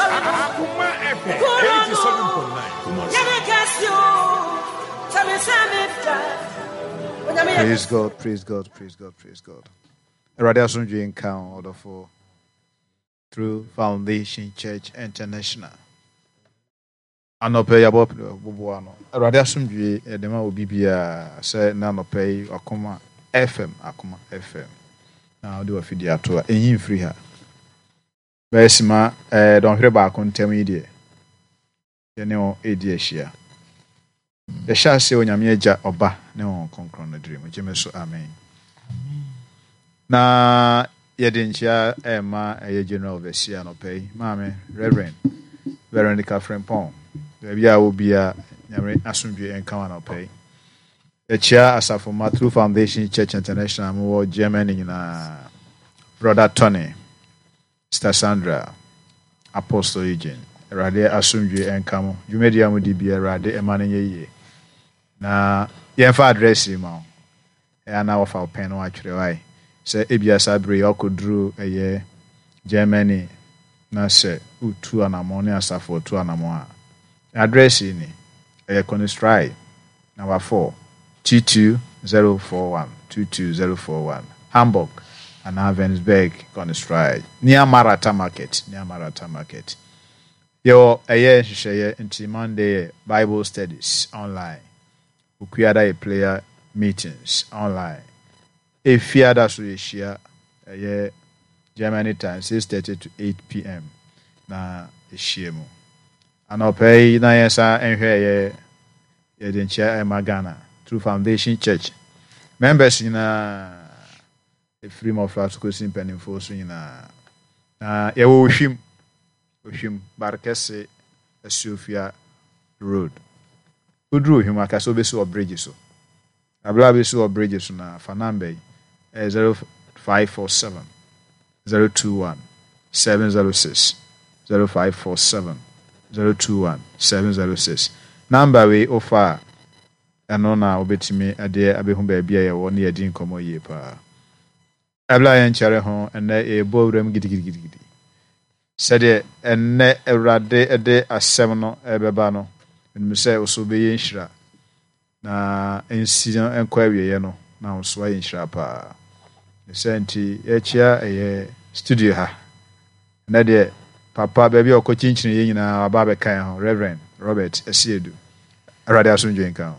Akoma FM 87.9 Kumasi. Praise God, praise God, praise God, praise God. Awurade asomdwe nka wo ɔdɔfo through Foundation Church International. Anɔpa yi abɔ boboa no. Awurade asomdwe yɛde ma obi biara sɛ na anɔpa yi Akoma FM, Akoma FM. Na wode wafidie ato a ɛnyi mfiri ha. Bɛyɛ sima ɛɛ dɔnhwere baako ntam yi deɛ yɛne wo redi ahyia. Yɛhyɛ aseɛ wɔ Nyame Agya, Ɔba, ne Honhom Kronkron no diri mu. Gye me so, amen. Na yɛde nkyia ɛrema ɛyɛ General Overseer anɔpa yi, Maame Reverend Veronica Frimpong, baabi a wɔ bia Nyame asomdwe nka wo anɔpa yi. Yɛkyia asafo ma True Foundation Church International mowɔ Germany nyinaa, Brother Tony, Sister Sandra, Apostle Eugene, Awurade asomdwie nka mo. Dwumadi a modi bia Awurade mma no nyɛ yie. Na yɛmfa address yi ma wo. Ɛyɛ a na wɔfa wo pɛn na wɔatwerɛ wae. Sɛ ebia saa bere yi ɔkɔduru ɛyɛ Germany na sɛ wotu anamɔn ne asafo ɔtu anamɔn a, address yi ni. Ɛyɛ Konistrae Number 4, 22041, 22041, Hamburg anaa Vennesberg Konistrae, near Marata Market, near Marata Market. Yɛwɔ ɛyɛ nhyehyɛeɛ nti Monday yɛ Bible studies online, Okuada yɛ prayer meetings online, Efiada so yɛhyia ɛyɛ Germany time 6:30 to 8 pm na yɛhyia mu. Anɔpa yi na yɛnsan nhwɛ ɛyɛ yɛde nkyia ɛma Ghana through Foundation Church members nyinaa ɛfiri mmɔfra so kɔsi mpanimfoɔ so nyinaa. Na yɛwɔ Ohwim, Ohwim, Barkɛse, Asuofia Road. Woduru Ohwim aka sɛ wobɛsi wɔ bridge so. Abere a wobɛsi wɔ bridge so na fa number yi ɛyɛ 0547 021 706 0547 021 706. Number wei wofa a ɛno na wobɛtumi de abɛhu baabi a yɛwɔ ne yɛdi nkɔmmɔ yie paa. Ɛberɛ a yɛnkyɛre ho ɛnnɛ yɛrebɔ wuram gidigidigidi. Sɛdeɛ ɛnnɛ Awurade de asɛm no ɛrebɛba no, menim sɛ wo so wobɛyɛ nhyira. Na nsi no nkɔ awieɛ no, na wo so ayɛ nhyira paa. Ne sɛ nti yɛkyia ɛyɛ studio ha. Ɛnɛ deɛ papa baabi a ɔkɔ kyinkyini yɛ nyinaa waba abɛka yɛn ho, Reverend Robert Asiedu. Awurade asomdwe nka ho.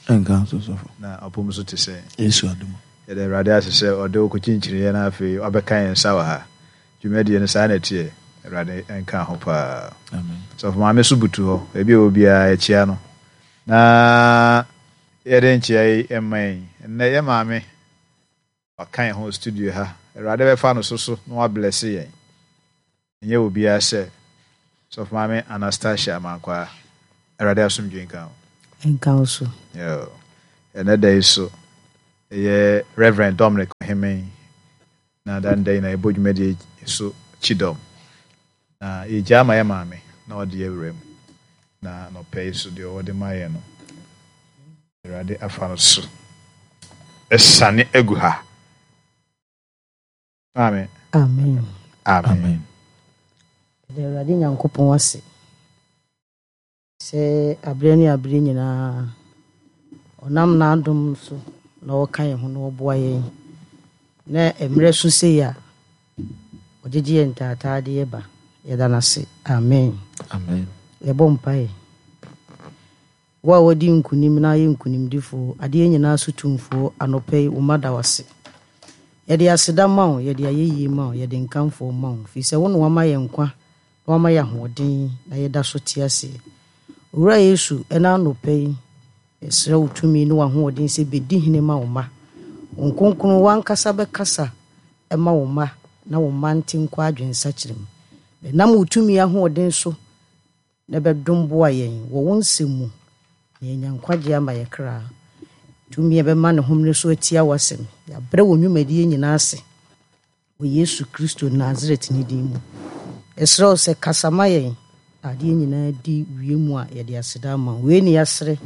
Nka nso sɔfo. Na ɔpom so te sɛ. Yesu adom. Yɛda Awurade ase sɛ ɔde wo kɔkyinkyini yɛ na afei wabɛka yɛn nsa wɔ ha. Dwumadie no saa na ɛteɛ. Awurade nka ho paa. Amen. Sɔfo maame so butu hɔ. Baabi a ɔwɔ biara yɛkyia no. Na yɛde nkyia yi mma yɛn. Nnɛ yɛ maame waka yɛn ho wɔ studio ha. Awurade bɛfa no so so na wablɛse yɛn. Ɛnyɛ obiara sɛ Sɔfo maame Anastasia Amankwaa. Awurade asomdwe nka ho. Nka wo so. Yo. Ɛnɛ da yi so ɛyɛ Reverend Dominic Ohemeng na da nda yi na yɛbɔ dwumadie so kyidɔm. Na yɛgyaa ma yɛ maame na ɔde yɛ wura mu. Na nɔpɛ yi so deɛ ɔwɔ de ma yɛn no, Awurade afa no so ɛsane agu ha. Amen. Amen. Amen. Amen. Yɛda Awurade Nyankopɔn ase sɛ aberɛ ne aberɛ nyinaa ɔnam n'adom so na ɔka yɛn ho na ɔboa yɛn. Na mmerɛ so sei a ɔgyegye yɛn ntaataadeɛ ba. Yɛda no ase. Amen. Amen. Yɛbɔ mpaeɛ. Wo a wadi nkonim na ayɛ nkonimdifoɔ, adeɛ nyinaa so tumfoɔ, anɔpa yi wo mma da wo ase. Yɛde aseda ma wo, yɛde ayɛyie ma wo, yɛde nkamfoɔ ma wo, firi sɛ wo na wama yɛn nkwa na wama yɛn ahoɔden na yɛda so te aseɛ. Owura Yesu, ɛna anɔpa yi, yɛsrɛ wo tumi ne w'ahoɔden sɛ bɛdi hene ma wo mma. Wo nkronkron w'ankasa bɛkasa ma wo mma na wo mma nte nkɔ adwensakyera mu. Bɛnam wo tumi ahoɔden so na bɛdom boa yɛn wɔ wo nsɛm mu na yɛanya nkwagye ama yɛ kra. Tumi a ɛbɛma ne homene so atia w'asɛm. Yɛabrɛ wɔ nnwumadie nyinaa ase wɔ Yesu Kristo Nasaret ne din mu. Yɛsrɛ wo sɛ kasa ma yɛn na adeɛ nyinaa di wie mu a yɛde aseda ama wo. Wei ne yɛasrɛ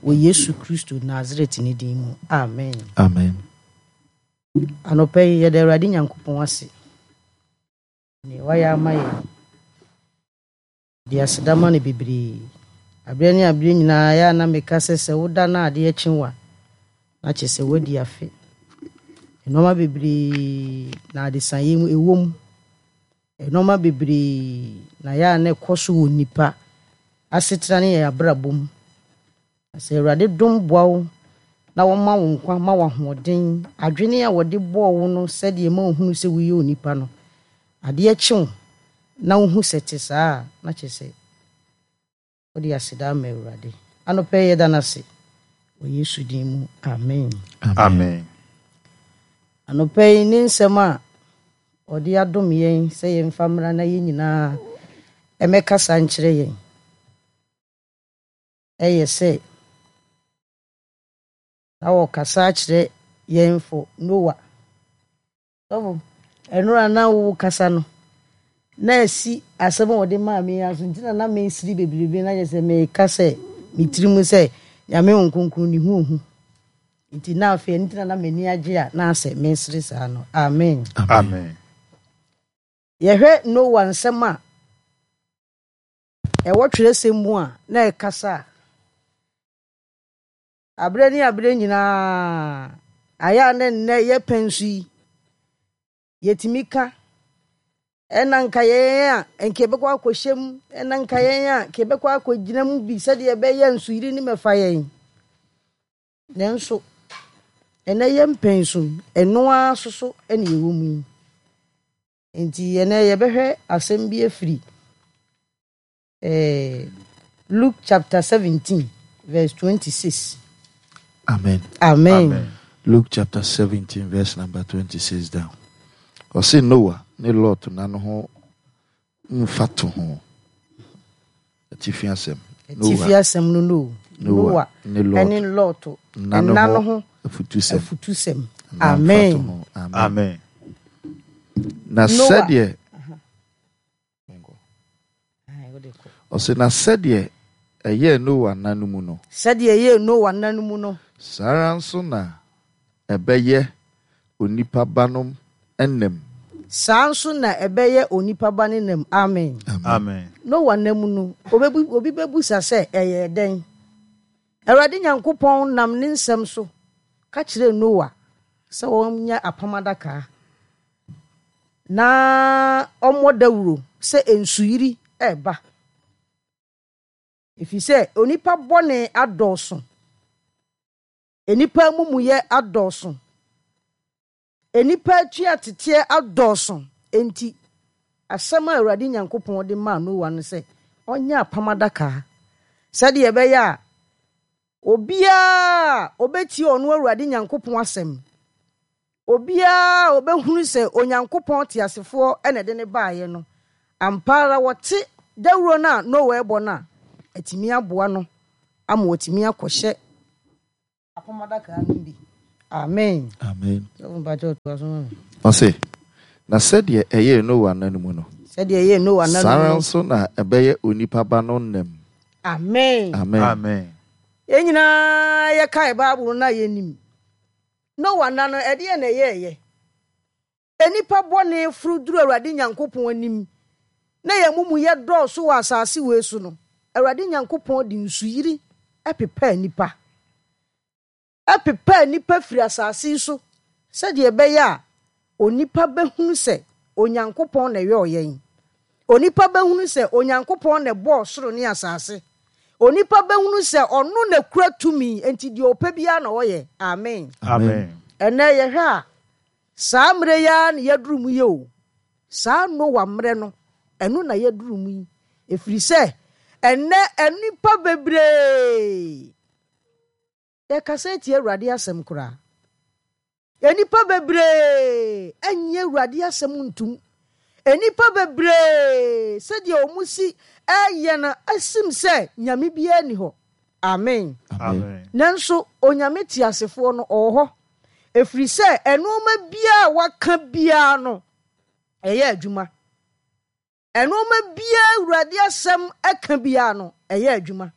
wɔ Yesu Kristo Nasaret ne din mu. Amen. Amen. Anɔpa yi yɛda Awurade Nyankopɔn ase. Nea wayɛ ama yɛn. De aseda ma no bebree. Aberɛ ne aberɛ nyinaa ɛyɛ a na meka sɛ sɛ woda na adeɛ kye wo a, na kyerɛ sɛ woadi afe. Nnoɔma bebree na adesaeɛ mu ɛwɔ mu. Nnoɔma bebree na ɛyɛ a na ɛkɔ so wɔ nnipa asetena ne yɛn abrabɔ mu. Na sɛ Awurade dom boa wo na wɔma wo nkwa, ma wo ahoɔden, adwene a wɔde bɔɔ wo no sɛdeɛ ɛma wohunu sɛ woyɛ onipa no, adeɛ kye wo na wohu sɛ ɛte saa a, na kyerɛ sɛ wode aseda ama Awurade. Anɔpa yi yɛda no ase wɔ Yesu din mu, amen. Amen. Anɔpa yi ne nsɛm a ɔde adom yɛn sɛ yɛmfa mmra na yɛn nyinaa ɛmɛkasa nkyerɛ yɛn. yɛ sɛ na wɔkasa akyerɛ yɛn fo Noa. Sɔfo, ɛnora na wo kasa no, na asi asɛm a wɔde maa me aso nti na na mesiri bebrebe na kyerɛ sɛ meka sɛ me tiri mu sɛ Nyame wo nkronkron ne ho ohu. Nti na afei ɛno nti na na m'ani agye a na asɛ mesere saa no. Amen. Amen. Yɛhwɛ Noa nsɛm a ɛwɔ twerɛsɛm mu a na ɛkasa a, aberɛ ne aberɛ nyinaa, ayɛ a na nnɛ yɛpɛ nso yi, yɛtumi ka, ɛna nka yɛn a nka yɛbɛkɔ akɔhyɛ mu, ɛna nka yɛn a nka yɛbɛkɔ akɔgyina mu bi sɛdeɛ ɛbɛyɛ nsuyiri ne mɛfa yɛn. Nanso, ɛnɛ yɛn pɛn so ɛno ara soso ɛna ɛwɔ mu yi. Enti ɛnnɛ yɛbɛhwɛ asɛm bi afiri eh, Luke chapter 17 verse 26. Amen. Amen. Amen. Luke chapter 17 verse number 26 down. Ɔse Noah ne Lot na no ho mfa to ho. Atifi asɛm. Atifi asɛm no no. Noah ne Lot nna no ho afutusɛm. Afutusɛm. Amen. Amen. Na sɛdeɛ ɔsɛ na sɛdeɛ ɛyɛɛ Noa nna no mu no. Sɛdeɛ ɛyɛɛ Noa nna no mu no. Saa ara nso na ɛbɛyɛ onipa ba no nna mu. Saa nso na ɛbɛyɛ onipa ba no nna mu. Amen. Amen. Noa nna mu no, obi bɛbusa sɛ, ɛyɛɛ dɛn? Awurade Nyankopɔn nam ne nsɛm so ka kyerɛɛ Noa sɛ ɔnyɛ apam adaka na ɔmmɔ dawuro sɛ nsuyiri reba. Ɛfiri sɛ onipa bɔne adɔɔso, nnipa amumuyɛ adɔɔso, nnipa atuateteɛ adɔɔso. Enti asɛm a Awurade Nyankopɔn de maa Noa no sɛ ɔnyɛ apam adaka sɛdeɛ ɛbɛyɛ a obiara a ɔbɛtie ɔno Awurade Nyankopɔn asɛm, obiara a ɔbɛhunu sɛ Onyankopɔn teasefoɔ na ɛde no baeɛ no, ampa ara wɔte dawuro no a Noa rebɔ no a, atumi aboa no ama watumi akɔhyɛ apam adaka no bi. Amen. Amen. Sɔfo mpakyɛ ɔtoa so ma me. Ɔse, na sɛdeɛ ɛyɛɛ Noa nna no mu no, Sɛdeɛ ɛyɛɛ Noa nna no saa mu ara no. nso na ɛbɛyɛ onipa ba no nna mu. Amen. Amen. Amen. Yɛn nyinaa yɛkae Bible no a yɛnim. Noa nna no, ɛdeɛn na ɛyɛeɛ? Nnipa bɔne foro duru Awurade Nyankopɔn anim, na yɛn amumuyɛ dɔɔso wɔ asase wei so no, Awurade Nyankopɔn de nsuyiri pepaa nnipa. Ɛpepaa nnipa firi asase yi so sɛdeɛ ɛbɛyɛ a onipa bɛhunu sɛ Onyankopɔn na ɛyɔɔ yɛn. Onipa bɛhunu sɛ Onyankopɔn na ɛbɔɔ soro ne asase. Onipa bɛhunu sɛ ɔno na kura tumi, enti deɛ ɔpɛ biara na ɔyɛ. Amen. Amen. Ɛnnɛ yɛhwɛ a, saa mmerɛ yi ara na yɛaduru mu yi o. Saa Noa mmerɛ no, ɛno na yɛaduru mu yi. Ɛfiri sɛ, ɛnnɛ nnipa bebree yɛkasa atia Awurade asɛm koraa. Nnipa bebree nnye Awurade asɛm ntom. Nnipa bebree sɛdeɛ wɔn si ɛyɛ no asim sɛ Nyame biara nni hɔ. Amen. Amen. Nanso Onyame teasefoɔ no ɔwɔ hɔ. Ɛfiri sɛ nnoɔma biara a waka biara no ɛyɛ adwuma. Nnoɔma biara Awurade asɛm ɛka biara no ɛyɛ adwuma.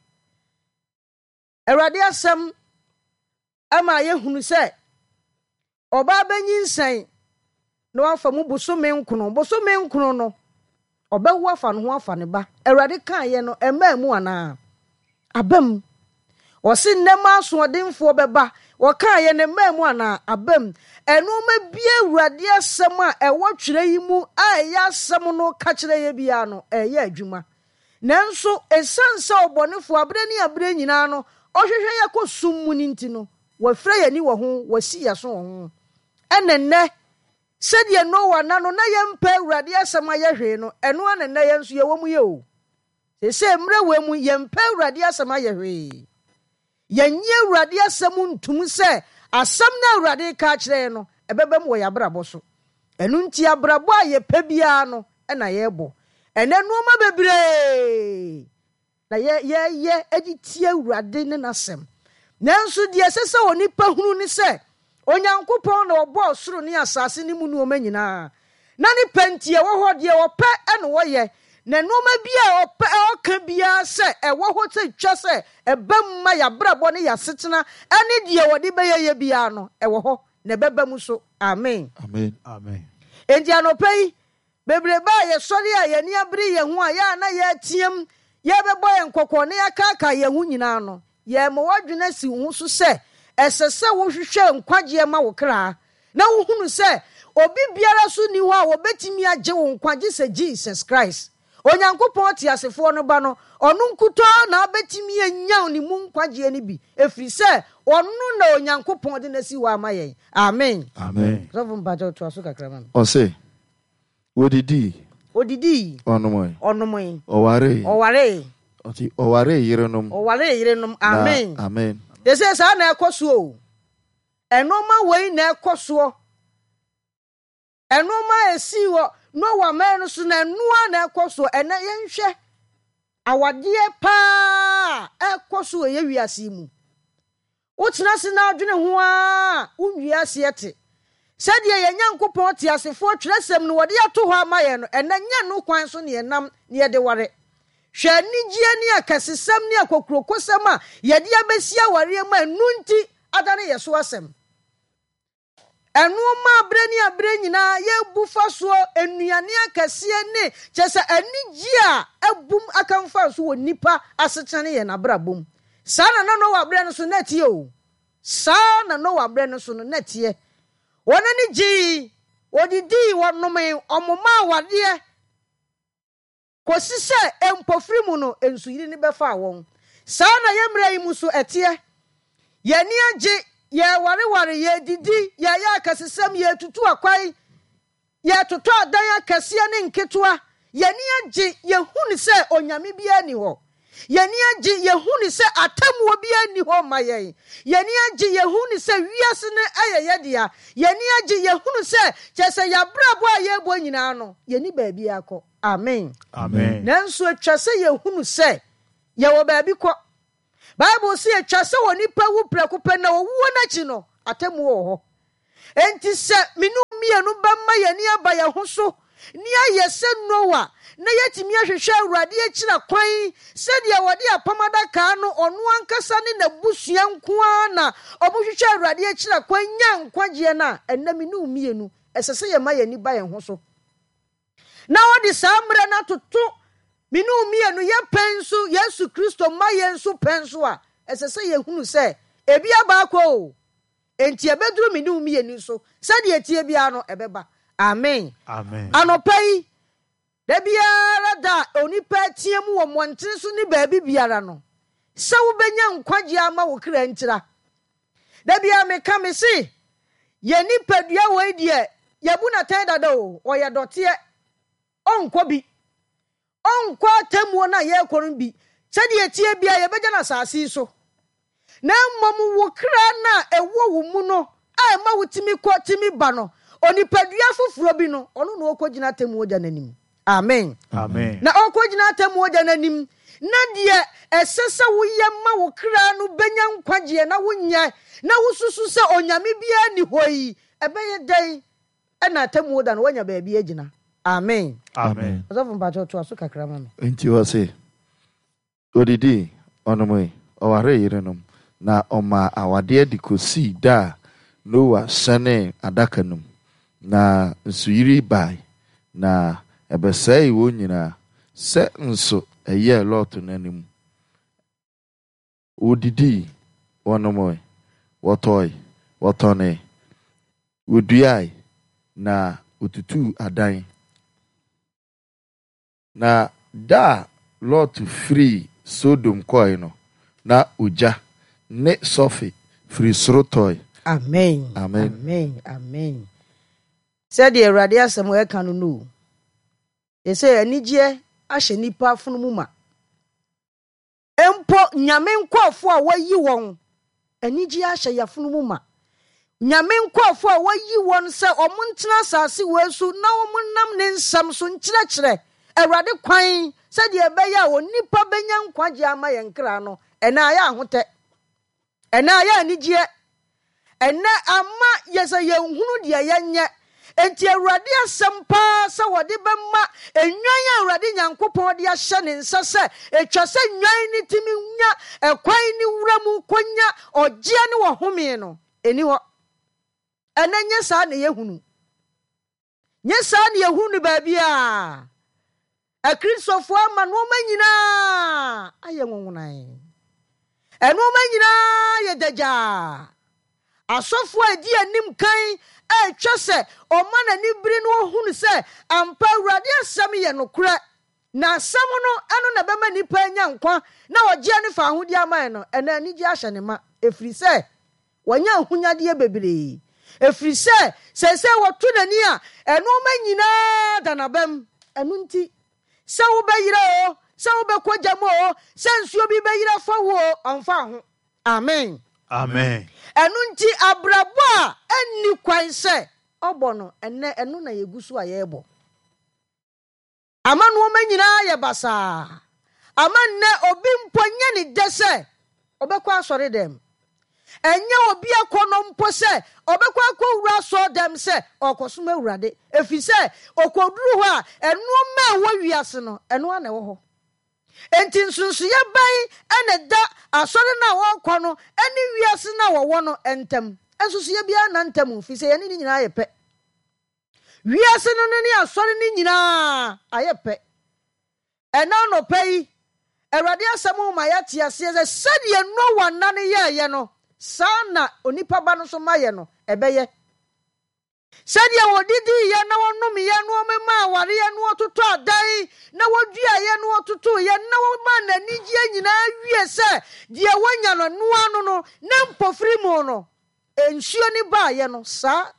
Awurade asɛm ma yɛhunu sɛ ɔbaa bɛnyinsɛn na wafa mu bosome nkono. Bosome nkono no, Ɔbɛwo afa ne ho afa ne ba. Awurade kaeɛ no, ɛmmaa mu anaa? Aba mu. Ɔse nnɛ mma asoɔdenfoɔ bɛba. Ɔkaeɛ no, ɛmmaa mu anaa? Aba mu. Nnoɔma biara Awurade asɛm a ɛwɔ twerɛ yi mu a ɛyɛ asɛm no ka kyerɛ yɛ biara no, ɛreyɛ adwuma. Nanso ɛsiane sɛ ɔbɔnefoɔ aberɛ ne aberɛ nyinaa no ɔhwehwɛ yɛ kɔ sum mu no nti no, wafira yɛn ani wɔ ho, wasi yɛn aso wɔ ho. Ɛna nnɛ, sɛdeɛ Noa nna no na yɛmpɛ Awurade asɛm ayɛ hwee no, ɛno ara na nnɛ yɛn nso yɛwɔ mu yɛ o. Seesei mmerɛ wei mu, yɛmpɛ Awurade asɛm ayɛ hwee. Yɛnnye Awurade asɛm ntom sɛ asɛm no a Awurade reka akyerɛ yɛn no, ɛbɛba mu wɔ yɛn abrabɔ so. Ɛno nti abrabɔ a yɛpɛ biara no na yɛrebɔ. Ɛnnɛ nnoɔma bebree na yɛyɛ de tia Awurade ne n'asɛm. Nanso deɛ ɛsɛ sɛ onipa hunu ne sɛ, Onyankopɔn na ɔbɔɔ soro ne asase ne mu nnoɔma nyinaa, na ne pɛ nti ɛwɔ hɔ, deɛ ɔpɛ na ɔyɛ, na nnoɔma bi a ɔpɛ ɔka biara sɛ ɛwɔ hɔ sɛ twa sɛ ɛba mu ma yɛabrabɔ ne yɛasetena ne deɛ ɔde bɛyɛ yɛ biara no, ɛwɔ hɔ, na ɛbɛba mu so. Amen. Amen. Amen. Enti anɔpa yi, Bebrebe a yɛsɔre a yɛn ani abere yɛn ho a yɛ a na yɛreteam, yɛrebɛbɔ yɛn kɔkɔ na yɛakaakae yɛn ho nyinaa no, yɛrema w'adwene asi wo ho so sɛ ɛsɛ sɛ wohwehwɛ nkwagyeɛ ma wo kra na wohunu sɛ obi biara so nni hɔ a ɔbɛtumi agye wo nkwa gye sɛ Jesus Christ, Onyankopɔn teasefoɔ no Ba no, ɔno nkutoo na wobɛtumi anya ne mu nkwagyeɛ no bi, ɛfiri sɛ ɔno na Onyankopɔn de no asi hɔ ama yɛn. Amen. Amen. Sɔfo mpakyɛw toa so kakra ma me. Ɔse, Odidii. Odidii. Ɔnomoe. Ɔnomoe. Ɔwaree. Ɔwaree. Ɔse, ɔwaree yerenom. Ɔwaree yerenom. Amen. Na, amen. Sese saa na ɛkɔ soɔ o. Ɛnoɔma wei na ɛkɔ soɔ. Ɛnoɔma a ɛsii wɔ Noa mmerɛ no so no, ɛnoa na ɛkɔ soɔ. Ɛnɛ yɛnhwɛ awadeɛ paa a ɛkɔ so wɔ yɛ wiase yi mu. Wotena ase na adwene ho ara a, wonwie aseɛ te. Sɛdeɛ yɛn Nyankopɔn teasefoɔ twerɛsɛm no wɔde ato hɔ ama yɛn no, ɛnnɛ nyɛ ɛno kwan so na yɛnam na yɛde ware. Hwɛ anigyeɛ ne akɛsesɛm ne akokurokosɛm a yɛde abɛsi awareɛ mu a ɛno nti adane yɛn so asɛm. Ɛno ma berɛ ne aberɛ nyinaa yɛbu fa soɔ nnuane akɛseɛ ne kyerɛ sɛ anigyeɛ a abum aka mfa so wɔ nnipa asetena ne yɛn abrabɔ mu. Saa na na Noa berɛ no so na ɛteɛ o. Saa na Noa berɛ no so no na ɛteɛ. Wɔn ani gyee, wɔdidii, wɔnomee, wɔmomaa awadeɛ. Kɔsi sɛ mpofiri mu no nsuyiri no bɛfaa wɔn. Saa na yɛn mmerɛ yi mu nso ɛteɛ. Yɛn ani agye, yɛrewareware, yɛredidi, yɛreyɛ akɛsesɛm, yɛretutu akwan, yɛretotɔ adan akɛseɛ ne nketewa. Yɛn ani agye, yɛhunu sɛ Onyame biara nni hɔ. Yɛn ani agye, yɛhunu sɛ atemmuo biara nni hɔ mma yɛn. Yɛn ani agye, yɛhunu sɛ wiase no yɛ yɛn dea. Yɛn ani agye, yɛhunu sɛ kyerɛ sɛ yɛn abrabɔ a yɛrebɔ nyinaa no, yɛnni baabiara kɔ. Amen. Amen. Nanso atwa sɛ yɛhunu sɛ yɛwɔ baabi kɔ. Bible se atwa sɛ onipa wu prɛko pɛ na owuo no akyi no, atemmuo wɔ hɔ. Enti sɛ me ne wo mmienu bɛma yɛn ani aba yɛn ho so na yɛayɛ sɛ Noa na yɛatumi ahwehwɛ Awurade akyira kwan sɛdeɛ wɔde apam adaka no ɔno ankasa ne n'abusua nko ara na wɔhwehwɛ Awurade akyira kwan nyaa nkwagyeɛ no a, ɛnnɛ me ne wo mmienu ɛsɛ sɛ yɛma yɛn ani ba yɛn ho so na wɔde saa mmerɛ no atoto me ne wo mmienu yɛ pɛn so, Yesu Kristo mma yɛn nso pɛn so a, ɛsɛ sɛ yɛhunu sɛ ebi aba akɔ o. Enti ɛbɛduru me ne wo mmienu so, sɛdeɛ ɛteɛ biara no, ɛbɛba. Amen. Amen. Anɔpa yi, da biara da a onipa reteam wɔ mmɔntene so ne baabi biara no, sɛ wobɛnya nkwagyeɛ ama wo kra ntira. Da biara meka, me se, yɛn nipadua wei deɛ, yɛabu no atɛn dada o, ɔyɛ dɔteɛ, ɔnkɔ bi. Ɔnkɔ atemmuo no a yɛrekɔ no bi. Sɛdeɛ ɛteɛ biara, yɛbɛgya no asase yi so. Na mmom wo kra no a ɛwɔ wo mu no a ɛma wotumi kɔ tumi ba no, onipadua foforɔ bi no, ɔno na ɔrekɔgyina atemmuo da no anim. Amen. Amen. Na ɔrekɔgyina atemmuo da no anim, na deɛ ɛsɛ sɛ woyɛ ma wo kra no bɛnya nkwagyeɛ na wonyɛ, na wosusu sɛ Onyame biara nni hɔ yi, ɛbɛyɛ dɛn na atemmuo da no woanya baabi agyina? Amen. Amen. Ɔsɔfo mpakyɛw toa so kakra ma me. Enti ɔse, Odidii, ɔnomee, ɔwaree yerenom, na ɔmaa awadeɛ de kɔsii da a Noa hyɛnee adaka no mu, na nsuyiri bae, na Ɛbɛsɛee wɔn nyinaa, sɛ nso ɛyɛɛ Lot nna no mu. Wɔdidii, wɔnomoe, wɔtɔe, wɔtɔnee, wɔduae, na wɔtutuu adan. Na da a Lot firii Sodom kɔe no, na ogya ne sɔfe firi soro tɔe. Amen. Amen. Amen. Amen. Sɛdeɛ Awurade asɛm ɛka no no o. Ɛsɛ anigyeɛ ahyɛ nnipa afono mu ma. Mpo Nyame nkurɔfoɔ a wɔayi wɔn, anigyeɛ ahyɛ yafunu mu ma. Nyame nkurɔfoɔ a wɔayi wɔn sɛ wɔn ntena asase wei so na wɔn nam ne nsɛm so nkyerɛkyerɛ Awurade kwan sɛdeɛ ɛbɛyɛ a onipa bɛnya nkwagyeɛ ama yɛn kra no, ɛnɛ ayɛ ahotɛ. Ɛnnɛ ayɛ anigyeɛ. Ɛnnɛ ama yɛ sɛ yɛnhunu deɛ yɛnyɛ. Enti Awurade asɛm paa sɛ wɔde bɛma nnwan a Awurade Nyankopɔn de ahyɛ ne nsa sɛ ɛtwa sɛ nnwan no tumi nya ɛkwan ne wura mu kɔnya ɔgyeɛ ne ɔhome no, ɛnni hɔ. Ɛnnɛ nyɛ saa na yɛhunu. Nyɛ saa na yɛhunu no baabiara. Akristofoɔ ama nnoɔma nyinaa ayɛ nwonwonae. Nnoɔma nyinaa yɛ dagyaa. Asɔfoɔ a ɛdi anim kan a ɛtwa sɛ ɔma n'ani bere na ɔhunu sɛ ampa Awurade asɛm yɛ nokorɛ, na asɛm no ɛno na ɛbɛma nnipa anya nkwa na ɔgyeɛ ne fawohodie ama yɛn no, ɛnnɛ anigyeɛ ahyɛ ne ma, ɛfiri sɛ Wanya ahonyadeɛ bebree, ɛfiri sɛ seesei wɔto n'ani a, nnoɔma nyinaa da n'abam. Ɛno nti, sɛ wobɛyera oo, sɛ wobɛkɔ gya mu oo, sɛ nsuo bi bɛyera afa wo oo, ɔmfa ho. Amen. Amen. Ɛno nti, abrabɔ a ɛnni kwan sɛ ɔbɔ no, ɛnnɛ ɛno na yɛgu so a yɛrebɔ. Ama nnoɔma nyinaa ayɛ basaa. Ama nnɛ obi mpo nyɛ ne dɛ sɛ ɔbɛkɔ asɔredɛm. Ɛnyɛ obi akɔnnɔ mpo sɛ ɔbɛkɔ akɔwura asɔredɛm sɛ ɔrekɔsom Awurade, ɛfiri sɛ ɔkɔduru hɔ a, nnoɔma a ɛwɔ wiase no, ɛno ara na ɛwɔ hɔ. Enti nsonsoeɛ bɛn na ɛda asɔre no a wɔrekɔ no ne wiase no a wɔwɔ no ntam? Nsonsoeɛ biara nna ntam, ɛfiri sɛ yɛne ne nyinaa yɛ pɛ. Wiase no ne asɔre no nyinaa ayɛ pɛ. Ɛnnɛ anɔpa yi, Awurade asɛm ma yɛate aseɛ sɛ sɛdeɛ Noa nna no yɛeɛ no, saa na onipa ba no nso mayɛ no ɛbɛyɛ. Sɛdeɛ wɔdidiiɛ na wɔnomeɛ na wɔmemaa awareɛ na wɔtotɔ adan na wɔduaeɛ na wɔtotoeɛ na wɔmaa n'anigyeɛ nyinaa wie sɛ deɛ wɔnya no ɛno ano no na mpofiri mu no nsuo no baeɛ no saa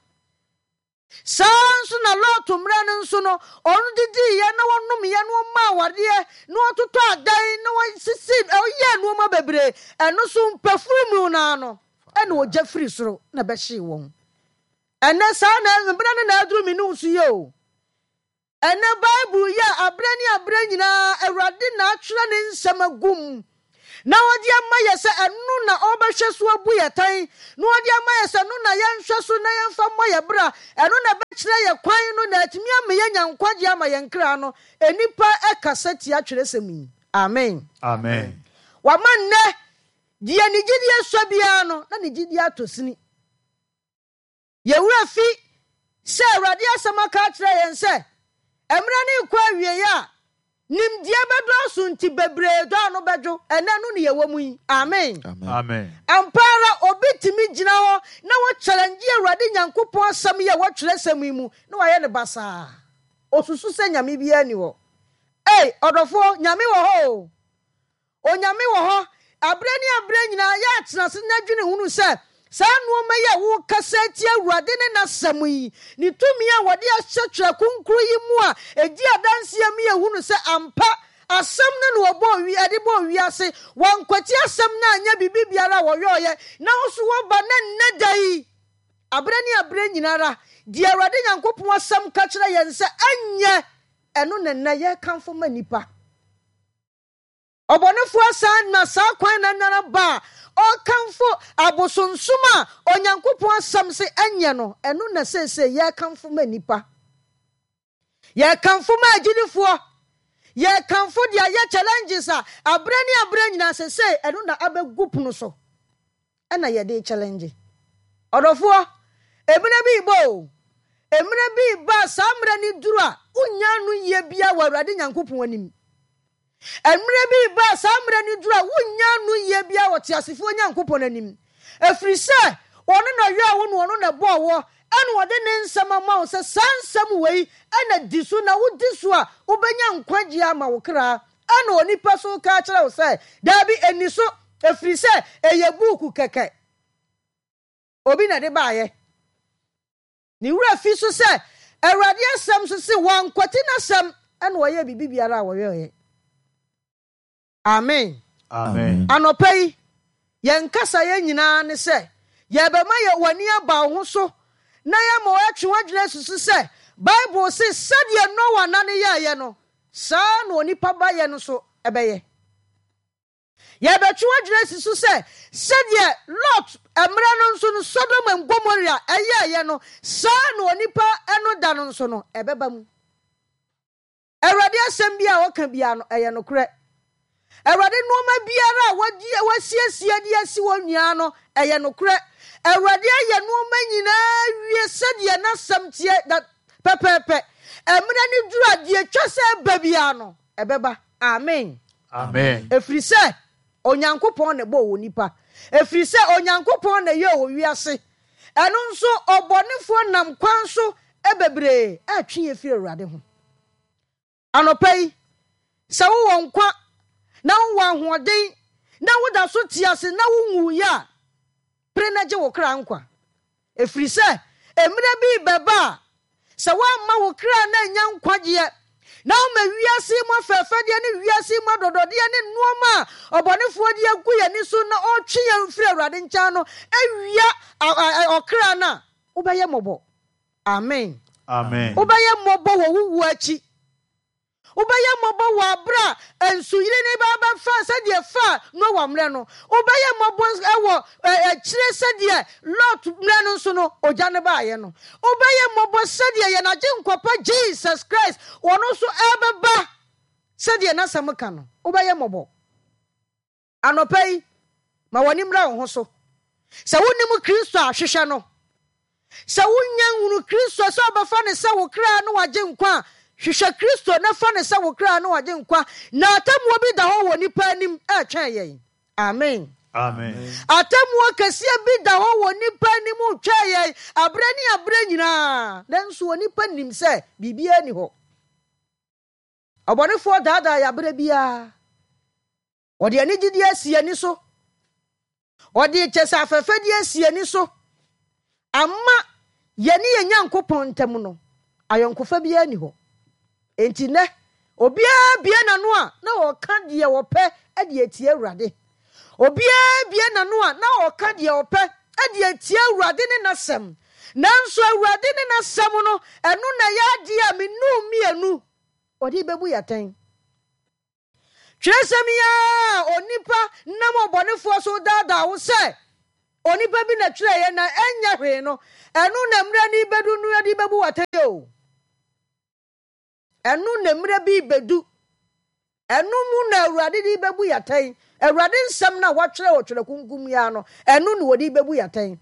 Saa ara nso na Lot mmerɛ no nso no, ɔno didiiɛ na ɔnomeɛ na ɔmaa awadeɛ na ɔtotɔ adan na ɔsisi ɔyɛɛ nnoɔma bebree. Ɛno nso mpafuru mu no ara no, ɛna ogya firi soro na ɛbɛhyee wɔn. Ɛnnɛ saa na mmerɛ no na aduru me ne wo so yi o. Ɛnnɛ Bible yi a aberɛ ne aberɛ nyinaa Awurade na atwerɛ ne nsɛm agu mu na ɔde ama yɛ sɛ ɛno na ɔbɛhwɛ so abu yɛ tan na ɔde ama yɛ sɛ ɛno na yɛnhwɛ so na yɛmfa mmɔ yɛ bra, ɛno na ɛbɛkyerɛ yɛ kwan no na atumi ama yɛanya nkwagyeɛ ama yɛn kra no. Nnipa kasa tia twerɛsɛm yi. Amen. Amen. Wama nnɛ deɛ ne gyidie sɔ biara no na ne gyidie atɔ sini. Yɛn werɛ fi sɛ Awurade asɛm aka akyerɛ yɛn sɛ, mmerɛ no rekɔ awieɛ a, nimdeɛ bɛdɔɔso nti bebree dɔ ano bɛdwo. Ɛnnɛ ɛno ne yɛwɔ mu yi. Amen. Amen. Ampa ara obi tumi gyina hɔ na wɔ challenge Awurade Nyankopɔn asɛm yi a ɛwɔ twerɛsɛm yi mu na wayɛ no basaa. Ɔsusu sɛ Nyame biara nni hɔ. Ei, ɔdɔfoɔ, Nyame wɔ hɔ o. Onyame wɔ hɔ aberɛ ne aberɛ nyinaa, yɛ atena ase na dwene hunu sɛ saa nnoɔma yi a worekasa atia Awurade ne N'asɛm yi, Ne tumi a wɔde ahyɛ Twerɛ Kronkron yi mu a ɛdi adanseɛ ma yɛhunu sɛ ampa Asɛm no na wɔbɔɔ wi ɛde bɔɔ wiase, wɔankwati Asɛm no anyɛ biribi biara a wɔyɔeɛ, na wo nso woaba na nnɛ da yi, aberɛ ne aberɛ nyina ara, deɛ Awurade Nyankopɔn Asɛm ka kyerɛ yɛn sɛ ɛnyɛ, ɛno na nnɛ yɛrekamfo ma nnipa. Ɔbɔnefoɔ asan na saa kwan no ara ba a ɔrekamfo abosonsom a Onyankopɔn asɛm se ɛnyɛ no, ɛno na seesei yɛrekamfo ma nnipa. Yɛrekamfo ma agyidifoɔ. Yɛrekamfo de ayɛ challenges a aberɛ ne aberɛ nyinaa seesei ɛno na abɛgu pono so ɛna yɛde challenge. Ɔdɔfoɔ, ebina bi rebɔ o. Mmerɛ bi reba a saa mmerɛ no duru a, wonnya anoyie biara wɔ Awurade Nyankopɔn anim. Mmerɛ bi reba a saa mmerɛ no duru a, wonnya anoyie biara wɔ teasefoɔ Nyankopɔn anim. Ɛfiri sɛ, ɔno na ɔyɔɔ wo na ɔno na ɛbɔɔ woɔ, ɛna ɔde ne nsɛm ama wo sɛ saa nsɛm wei na di so, na wodi so a, wobɛnya nkwagyeɛ ama wo kra. Ɛna onipa nso reka akyerɛ wo sɛ, Daabi, ɛnni so, ɛfiri sɛ ɛyɛ buuku kɛkɛ. Obi na ɛde baeɛ. Ne werɛ fi so sɛ Awurade asɛm so se wankwati n'asɛm ɛna ɔyɛɛ biribi biara a ɔyɔeɛ. Amen. Amen. Anɔpa yi, yɛn kasaeɛ nyinaa ne sɛ yɛbɛma yɛ w'ani aba wo ho so na yɛama woatwe w'adwene asusu sɛ Bible se sɛdeɛ Noa nna no yɛeɛ no, saa ara na onipa ba yɛ no nso bɛyɛ. Yɛbɛtwe w'adwene asi so sɛ, sɛdeɛ Lot mmerɛ no nso no Sodom and Gomorrah ɛyɛeɛ no, saa ara na onipa no da no nso no ɛbɛba mu. Awurade asɛm biara a ɔka biara no, ɛyɛ nokorɛ. Awurade nnoɔma biara a wasiesie de asi hɔ nyinaa no, ɛyɛ nokorɛ. Awurade ayɛ nnoɔma nyinaa wie sɛdeɛ n'asɛm teɛ da pɛpɛɛpɛ. Mmerɛ no duru a, deɛ ɛtwa sɛ ɛba biara no, ɛbɛba. Amen. Amen. Ɛfiri sɛ Onyankopɔn na ɛbɔɔ onipa. Ɛfiri sɛ Onyankopɔn na ɛyɛɛ owiase. Ɛno nso ɔbɔnefoɔ nam kwan so bebree retwe yɛn firi Awurade ho. Anɔpa yi, sɛ wowɔ nkwa na wowɔ ahoɔden na woda so te ase na wonwuiɛ a, pere na gye wo kra nkwa. Ɛfiri sɛ mmerɛ bi rebɛba a, sɛ woamma wo kra no annya nkwagyeɛ, na woma wiase yi mu afɛɛfɛdeɛ ne wiase yi mu adɔdɔdeɛ ne nnoɔma a ɔbɔnefoɔ de agu yɛn ani so na ɔretwe yɛn firi Awurade nkyɛn no awia ɔkra no a, wobɛyɛ mmɔbɔ. Amen. Amen. Wobɛyɛ mmɔbɔ wɔ wo wuo akyi. Wobɛyɛ mmɔbɔ wɔ aberɛ a nsuyire no reba abɛfa sɛdeɛ ɛfaa Noa mmerɛ no. Wobɛyɛ mmɔbɔ wɔ akyire sɛdeɛ Lot mmerɛ no nso no ogya no baeɛ no. Wobɛyɛ mmɔbɔ sɛdeɛ yɛn Agyenkwa pa Jesus Christ ɔno nso ɛrebɛba sɛdeɛ n'asɛm ka no. Wobɛyɛ mmɔbɔ. Anɔpa yi, ma w'ani mmra wo ho so. Sɛ wonnim Kristo a, hwehwɛ no. Sɛ wunnya nhunu Kristo sɛ wobɛfa no sɛ wo kra ne w'agyenkwa a, hwehwɛ Kristo na fa no sɛ wo kra ne w'agyenkwa. Na atemmuo bi da hɔ wɔ nnipa anim retwɛn yɛn. Amen. Amen. Atemmuo kɛseɛ bi da hɔ wɔ nnipa anim retwɛn yɛn aberɛ ne aberɛ nyinaa. Nanso onipa nim sɛ biribiara nni hɔ. Ɔbɔnefoɔ daadaa yɛn aberɛ biara. Ɔde anigyedeɛ asi ani so. Ɔde kyɛ sɛ afɛfɛdeɛ asi ani so. Ama yɛne yɛn Nyankopɔn ntam no, ayɔnkofa biara nni hɔ. Enti nnɛ, obiara bue n'ano a, na ɔreka deɛ ɔpɛ de atia Awurade. Obiara bue n'ano a, na ɔreka deɛ ɔpɛ de atia Awurade ne n'asɛm. Nanso Awurade ne n'asɛm no, ɛno na ɛyɛ adeɛ a me ne wo mmienu ɔde bɛbu yɛn atɛn. Twerɛsɛm yi ara a onipa nam ɔbɔnefoɔ so redaadaa wo sɛ onipa bi na twerɛeɛ na ɛnyɛ hwee no, ɛno na mmerɛ no rebɛdu no yɛde bɛbu wo atɛn o. Ɛno na mmerɛ bi rebɛdu. Ɛno mu na Awurade de bɛbu yɛn atɛn. Awurade nsɛm no a wɔatwerɛ wɔ Twerɛ Kronkron mu yi ara no, ɛno na wɔde bɛbu yɛn atɛn.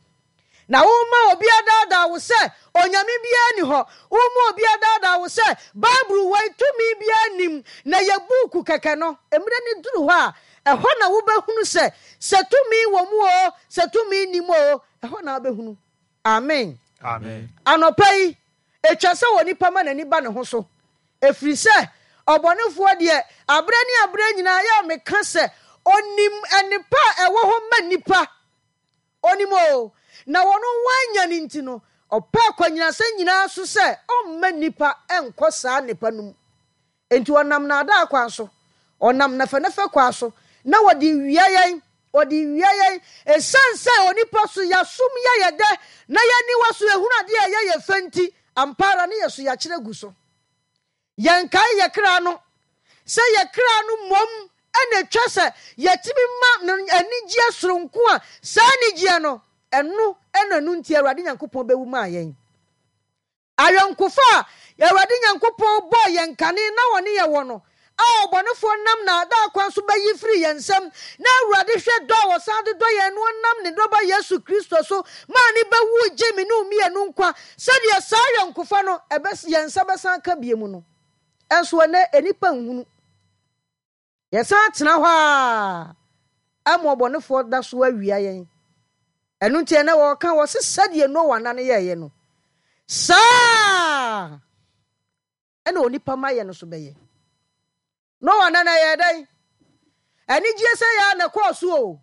Na womma obi adaadaa wo sɛ Onyame biara nni hɔ. Womma obi adaadaa wo sɛ Bible wei tumi biara nnim, na ɛyɛ buuku kɛkɛ no. Mmerɛ no duru hɔ a, ɛhɔ na wobɛhunu sɛ, sɛ tumi wɔ mu oo, sɛ tumi nni mu oo, ɛhɔ na wobɛhunu. Amen. Amen. Anɔpa yi, ɛtwa sɛ onipa ma n'ani ba ne ho so, ɛfiri sɛ ɔbɔnefoɔ deɛ, aberɛ ne aberɛ nyinaa, yɛ a meka sɛ, ɔnim nnepa a ɛwɔ hɔ ma nnipa. Ɔnim oo, na ɔno wannya no nti no, ɔpɛ akwannyinasɛm nyinaa so sɛ ɔmma nnipa nkɔ saa nnepa no mu. Enti ɔnam nnaadaa kwan so, ɔnam nɛfɛnɛfɛ kwan so, na ɔde wia yɛn, ɔde wia yɛn. Esiane sɛ onipa so yɛasom yɛ yɛ dɛ, na yɛn aniwa so ehunu adeɛ a ɛyɛ yɛn fɛ nti, ampa ara ne yɛ so yɛakyerɛ gu so. Yɛnkae yɛ kra no sɛ yɛ kra no mmom na ɛtwa sɛ yɛtumi ma no anigyeɛ soronko a saa anigyeɛ no, ɛno na ɛno nti Awurade Nyankopɔn bɛwu maa yɛn. Ayɔnkofa a Awurade Nyankopɔn bɔɔ yɛn kane na ɔne yɛn wɔ no, a ɔbɔnefoɔ nam naadaa kwan so bɛyi firi yɛn nsam, na Awurade hwɛ dɔ a ɔsan de dɔ yɛn no ɔnam ne Dɔba Yesu Kristo so maa ne bɛwuu gyee me ne wo mmienu nkwa, sɛdeɛ saa ayɔnkofa no ɛbɛ yɛn nsa bɛsan aka bio mu no. Nso ɛnnɛ nnipa nhunu. Yɛsan tena hɔ ara ma ɔbɔnefoɔ da so awia yɛn. Ɛno nti ɛnnɛ wɔka wɔse sɛdeɛ Noa nna no yɛeɛ no, saa ɛna onipa ma yɛ no so bɛyɛ. Noa nna no ɛyɛɛ dɛn? Anigyeɛ sɛ yɛ a na ɛkɔɔ so o.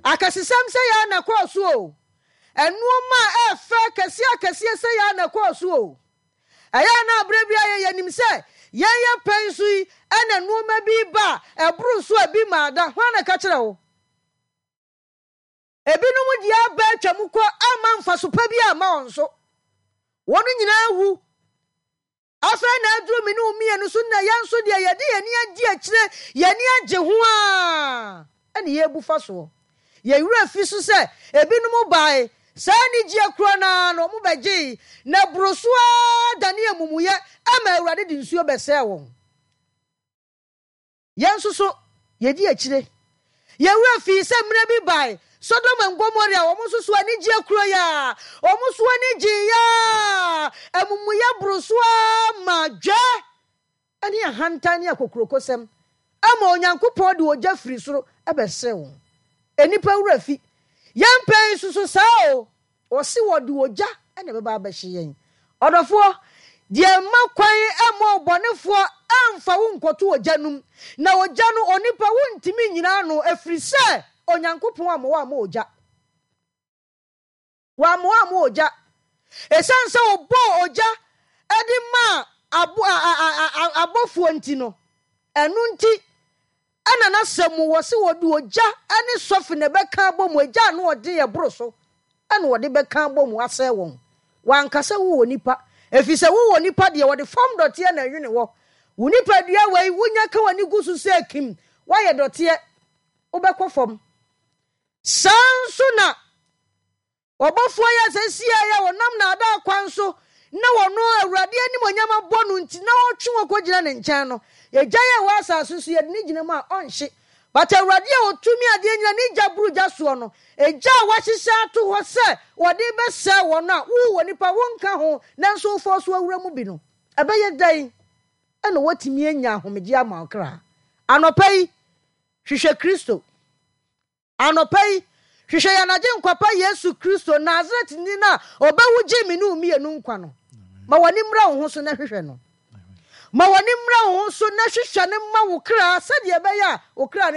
Akɛsesɛm sɛ yɛ a na ɛkɔɔ so o. Nnoɔma a ɛfɛ akɛseɛ akɛseɛ sɛ yɛ a na ɛkɔɔ so o. Ɛyɛ a na berɛ biara yɛ yɛnim sɛ yɛn yɛ pɛn so yi ɛna nnoɔma bi reba a ɛboro so a ebi mmaa da. Hwan na ɛka kyerɛ wo? Ebinom deɛ aba atwa mu kɔ amma mfaso pa bi amma wɔn so. Wɔn nyinaa awu. Afei na aduru me ne wo mmienu so na yɛn nso deɛ yɛde yɛn ani adi akyire, yɛn ani agye ho ara na yɛrebu fa soɔ. Yɛn werɛ fi so sɛ ebinom bae, saa anigyeɛ korɔ no ara no wɔbɛgyee, na ɛboro so ara danee amumuyɛ ma Awurade de nsuo bɛsɛee wɔn. Yɛn nso so, yedi akyire. Yɛn werɛ fii sɛ mmerɛ bi bae, Sodom and Gomorrah, wɔn nso so anigyeɛ kuro yi ara, wɔn nso ani gyeeɛ ara, amumuyɛ boro so ara maa dwɛ ne ahantan ne akokurokosɛm ma Onyankopɔn de ogya firi soro bɛsɛe wɔn. Nnipa werɛ fi. Yɛn pɛn nso so saa o. Ɔse wɔde ogya na ɛbɛba abɛhye yɛn. Ɔdɔfoɔ, deɛ mma kwan mma ɔbɔnefoɔ mfa wo nkɔto ogya no mu, na ogya no onipa wontumi nnyina ano, ɛfiri sɛ Onyankopɔn ammɔ wo ammɔ ogya. Wammɔ wo ammɔ ogya. Ɛsiane sɛ ɔbɔɔ ogya de maa abo, a, a, a, a, abɔfoɔ nti no, ɛno nti Ɛna n'asɛm mu wɔse wɔde ogya ne sɔfe na ɛbɛka abɔ mu, egya a ano ɔden ɛboro so na wɔde bɛka abɔ mu asɛe wɔn. Wanka sɛ wowɔ nipa, efisɛ wowɔ nipa deɛ wɔde fam dɔteɛ na ɛnwene wɔ. Wo nipadua wei wonya ka w'ani gu so sɛ kim, woayɛ dɔteɛ, wobɛkɔ fam. Saa nso na Ɔbɔfoɔ yi a seesei a ɔnam nnaadaa kwan so na ɔno Awurade animuonyam abɔ no nti na ɔretwe wɔn kɔgyina ne nkyɛn no, egya yi a ɛwɔ asase so yɛde no gyina mu a, ɔnhye. But Awurade a ɔtumi adeɛ nyina ne gya boro gya soɔ no, egya a wahyehyɛ ato hɔ sɛ wɔde rebɛsɛe wɔn a wo onipa wonka ho nanso wofɔɔ so awura mu bi no, ɛbɛyɛ dɛn na woatumi anya ahomegyeɛ ama wo kra? Anɔpa yi, hwehwɛ Kristo. Anɔpa yi, hwehwɛ yɛn Agyenkwa pa Yesu Kristo, Nasaretni no a ɔbɛwu gyee me ne wo mmienu nkwa no. Ma w'ani mmra wo ho so na hwehwɛ no. Ma w'ani mmra wo ho so na hwehwɛ no ma wo kra sɛdeɛ ɛbɛyɛ a wo kra no.